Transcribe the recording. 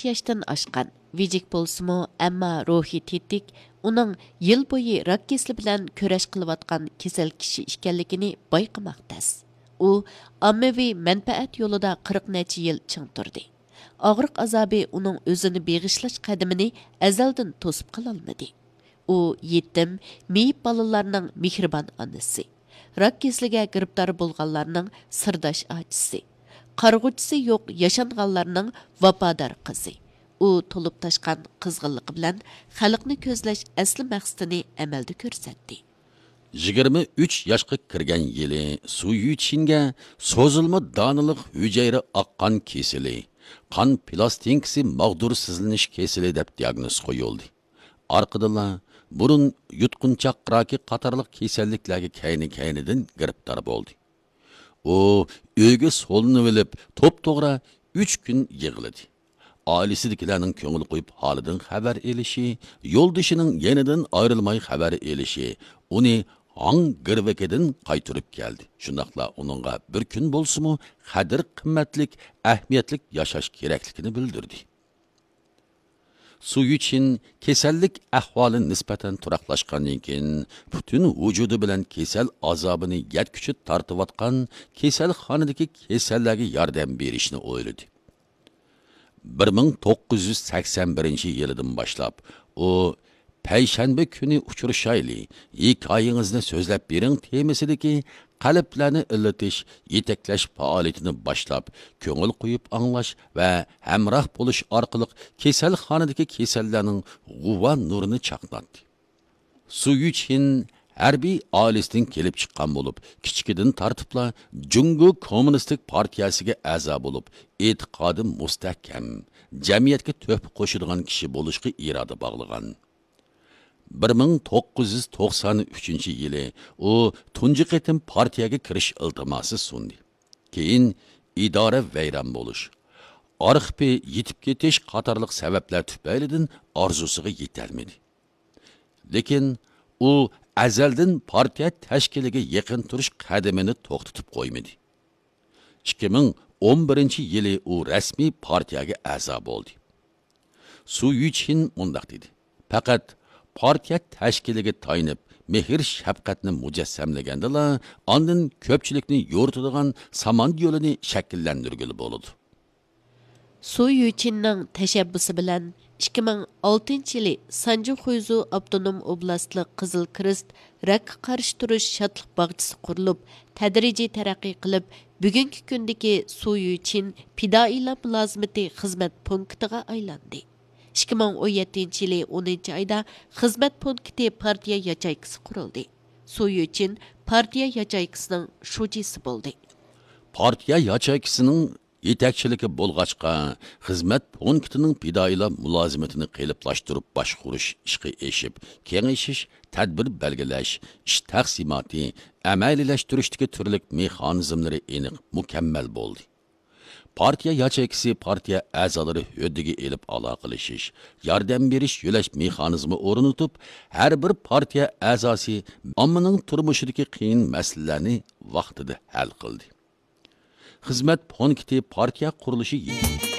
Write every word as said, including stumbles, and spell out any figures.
ياشتىن ئاشقان، ۋىجىك بولسىمۇ، ئەمما روھى تېتىك، ئۇنىڭ يىل بويى راك كېسىلى بىلەن كۈرەش قىلىۋاتقان كېسەل كىشى ئىكەنلىكىنى بايقىماق تەس. ئۇ ئاممىۋى مەنپەئەت يولىدا قىرىق نەچچە يىل چىڭ تۇردى. ئاغرىق ئازابى ئۇنىڭ ئۆزىنى بېغىشلاش قەدىمىنى ئەزەلدىن توسۇپ قالالمىدى. ئۇ يېتىم، مېيىپ بالىلارنىڭ مېھرىبان ئانىسى، راك كېسىلىگە گىرىپتار بولغانلارنىڭ سىرداش ئاچىسى، قارىغۇچىسى يوق ياشانغانلارنىڭ ۋاپادار قىزى. ئۇ تولۇپ تاشقان قىزغىنلىقى بىلەن خەلقنى كۆزلەش ئەسلى مەقسىتىنى ئەمەلدە كۆرسەتتى. يىگىرمە ئۈچ ياشقا كىرگەن يىلى سۇ يۈچىنگە سوزۇلما دانىلىق ھۈجەيرە ئاق قان كېسىلى، قان پىلاستىنكىسى ماغدۇرسىزلىنىش كېسىلى دەپ دىياگنوز قويۇلدى. ئارقىدىنلا بۇرۇن يۇتقۇنچاق راكى قاتارلىق كېسەللىكلەرگە كەينى-كەينىدىن گىرىپتار بولدى. ئۇ ئۆيگە سولىنىۋېلىپ، توپتوغرا ئۈچ كۈن يىغلىدى. ئائىلىسىدىكىلەرنىڭ كۆڭۈل قويۇپ ھالىدىن خەۋەر ئېلىشى، يولدىشىنىڭ يېنىدىن ئايرىلماي خەۋەر ئېلىشى ئۇنى ھاڭ گىرۋىكىدىن قايتۇرۇپ كەلدى. شۇنداقلا ئۇنىڭغا بىر كۈن بولسىمۇ قەدىر-قىممەتلىك، ئەھمىيەتلىك ياشاش كېرەكلىكىنى بىلدۈردى. سۇ يۈچىن كېسەللىك ئەھۋالى نىسبەتەن تۇراقلاشقاندىن كېيىن، پۈتۈن ۋۇجۇدى بىلەن كېسەل ئازابىنى يەتكۈچە تارتىۋاتقان كېسەلخانىدىكى كېسەللەرگە ياردەم بېرىشنى ئويلىدى. بىر مىڭ توققۇز يۈز سەكسەن بىرىنچى يىلىدىن باشلاپ، ئۇ پەيشەنبە كۈنى ئۇچرىشايلى، ھېكايىڭىزنى سۆزلەپ بېرىڭ تېمىسىدىكى قەلبلەرنى ئىللىتىش، يېتەكلەش پائالىيىتىنى باشلاپ، كۆڭۈل قويۇپ ئاڭلاش ۋە ھەمراھ بولۇش ئارقىلىق كېسەلخانىدىكى كېسەللەرنىڭ غۇۋا نۇرىنى چاقناتتى. سۇ يۈچىن ھەربىي ئائىلىسىدىن كېلىپ چىققان بولۇپ، كىچىكىدىن تارتىپلا جۇڭگو كوممۇنىستىك پارتىيەسىگە ئەزا بولۇپ، ئېتىقادى مۇستەھكەم، جەمئىيەتكە تۆھپە قوشىدىغان كىشى بولۇشقا ئىرادە باغلىغان. بىر مىڭ توققۇز يۈز توقسان ئۈچىنچى يىلى ئۇ تۇنجى قېتىم پارتىيەگە كىرىش ئىلتىماسى سۇندى. كېيىن ئىدارە ۋەيران بولۇش، ئارخىپى يىتىپ كېتىش قاتارلىق سەۋەبلەر تۈپەيلىدىن ئارزۇسىغا يېتەلمىدى. لېكىن ئۇ ئەزەلدىن پارتىيە تەشكىلىگە يېقىن تۇرۇش قەدىمىنى توختىتىپ قويمىدى. ئىككى مىڭ ئون بىرىنچى يىلى ئۇ رەسمىي پارتىيەگە ئەزا بولدى. سۇ يۈچىن مۇنداق دېدى: «پەقەت پارتىيە تەشكىلىگە تايىنىپ، مېھىر-شەپقەتنى مۇجەسسەملىگەندىلا، ئاندىن كۆپچىلىكنى يورۇتىدىغان سامان يولىنى شەكىللەندۈرگىلى بولىدۇ.» سۇ يۈچىننىڭ تەشەببۇسى بىلەن ئىككى مىڭ ئالتىنچى يىلى سانجى خۇيزۇ ئاپتونوم ئوبلاستلىق قىزىل كىرېست راكقا قارشى تۇرۇش شادلىق باغچىسى قۇرۇلۇپ، تەدرىجىي تەرەققىي قىلىپ، بۈگۈنكى كۈندىكى سۇ يۈچىن پىدائىيلار مۇلازىمىتى خىزمەت پونكىتىغا ئايلاندى. ئىككى مىڭ ئون يەتتىنچى يىلى ئونىنچى ئايدا خىزمەت پونكىتى پارتىيە ياچېيكىسى قۇرۇلدى. سۇ يۈچىن پارتىيە ياچېيكىسىنىڭ شۇجىسى بولدى. پارتىيە ياچېيكىسىنىڭ يېتەكچىلىكى بولغاچقا، خىزمەت پونكىتىنىڭ پىدائىيلار مۇلازىمىتىنى قېلىپلاشتۇرۇپ باشقۇرۇش ئىشقا ئېشىپ، كېڭىشىش، تەدبىر بەلگىلەش، ئىش تەقسىماتى، ئەمەلىيلەشتۈرۈشتىكى تۈرلۈك مېخانىزملىرى ئېنىق، مۇكەممەل بولدى. پارتىيە ياچېيكىسى پارتىيە ئەزالىرى ھۆددىگە ئېلىپ ئالاقىلىشىش، ياردەم بېرىش، يۆلەش مېخانىزمى ئورنىتىپ، ھەر بىر پارتىيە ئەزاسى ئاممىنىڭ تۇرمۇشىدىكى قىيىن مەسىلىلەرنى ۋاقتىدا ھەل قىلدى. خىزمەت پونكىتى پارتىيە قۇرۇلۇشى